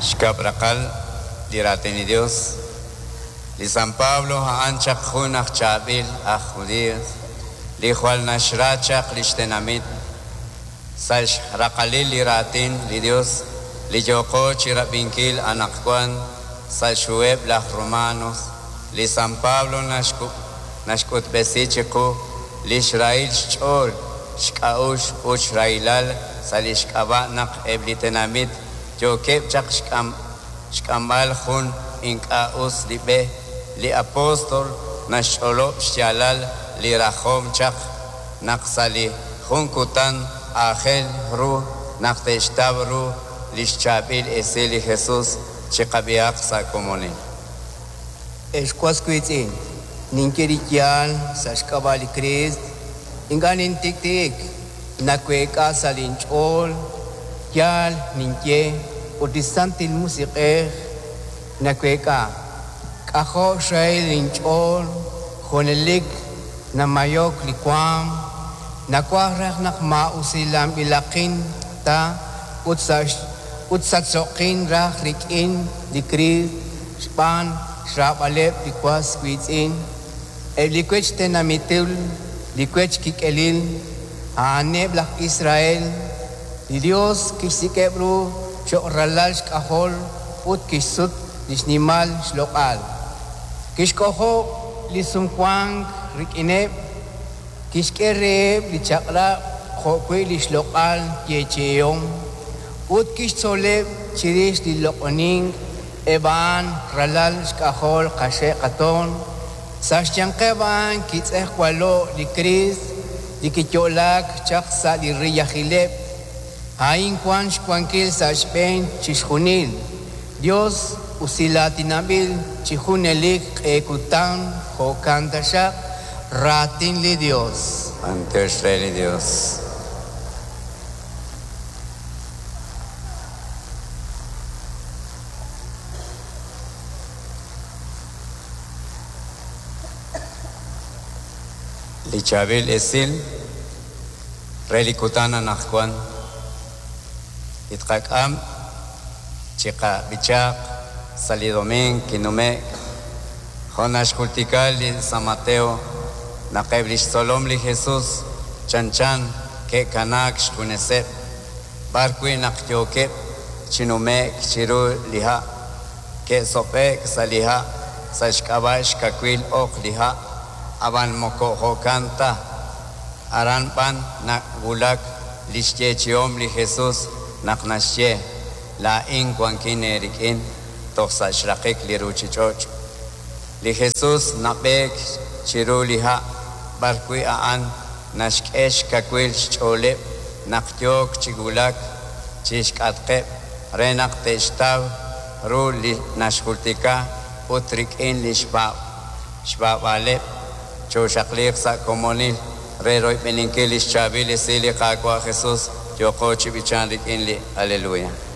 Xkab' raqal li Raatin li Yos. Li San Pablo a'an chaq jun aj chaab'il aj Judiiy li jwal naxra chaq li xtenamit. Sa' xraqalil li Raatin li Yos li yooqo chi rab'inkil anaqwan sa' xhuheb' laj Romanos, li San Pablo naxk'utb'esi chiqu li xrahil xch'ool, xk'a'uxl ut xrahilal sa' li xk'ab'a' naq eb' li tenamit yookeb' chaq xk'amb'al jun ink'a' us li b'e. Li apóstol naxch'olob' xyaalal li rajom chaq naq sa' li jun kutan aajel ru naq te'xtaw ru li xchaab'il esil li Jesús. Chiqab'ihaq sa' komonil. Ex was wiitz'in, ninye li yaal sa' xk'ab'a' li Kriist, ink'a' nintik'ti'ik, naweek'a sa' linch'ool, yaal ninye ut li Santil Musiq'ej naweek'a. K'ajo' xrahil linch'ool, junelik namayok li waanm, nawaj raj naq maa'usilanb'ilaqin ta ut sa' ut sachso'qin raj rik'in li Kriist xb'aan xraab'aleb' li was wiitz'in, eb' li wech tenamitul, li wech kik'elil, a'aneb' laj Israel. Li Yos kixsik'eb' ru cho'q ralal xk'ajol ut kixsut li xnimal xloq'al. Kixk'ojob' li sumwank rik'ineb', kixk'e reheb' li chaq'rab' jo'wi' li xloq'al yeechi'ihom, ut kixtzoleb' chirix li loq'onink eb' a'an ralal xk'ajol qaxe' qatoon. Sa' xyanqeb' a'an kitz'ejwalo' li Kriist li kiyo'laak chaq sa' li riyajileb'. A'in wank xwankil sa' xb'een chixjunil. Yos usilaatinanb'il chi junelik q'e kutan, jo'kan taxaq. Raatin li Yos. B'antiox re li Yos. Li chaab'il esil re li kutan anaqwan li tqak'am chiqab'ichaaq sa' li domiing kinume'k, jo' naxjultika li San Mateo naq eb' li xtzolom li Jesús chanchan ke'kanaak xjuneseb' b'ar wi' naq yookeb' chi nume'k chiru li ha', ke'sob'e'k sa' li ha' sa' xk'ab'a' xkawil oq li ha', ab'an moko jo'kan ta. Aran b'an nawulak li xyeechi'om li Jesús naq naxye, Laa'in wankin eerik'in toj sa' xraqik li ruuchich'och'. Li Jesús nab'eek chiru li ha' b'arwi' a'an naxk'e xkawil xch'ooleb' naq yook chi wulak chi xk'atqeb' re naq te'xtaw ru li naxjultika ut rik'in li xpaab'aaleb' chooxaqliiq sa' komonil re royb'eninkil li xchaab'il esil li Qaawa' Jesús yooqo chi b'ichank rik'in li Aleluya.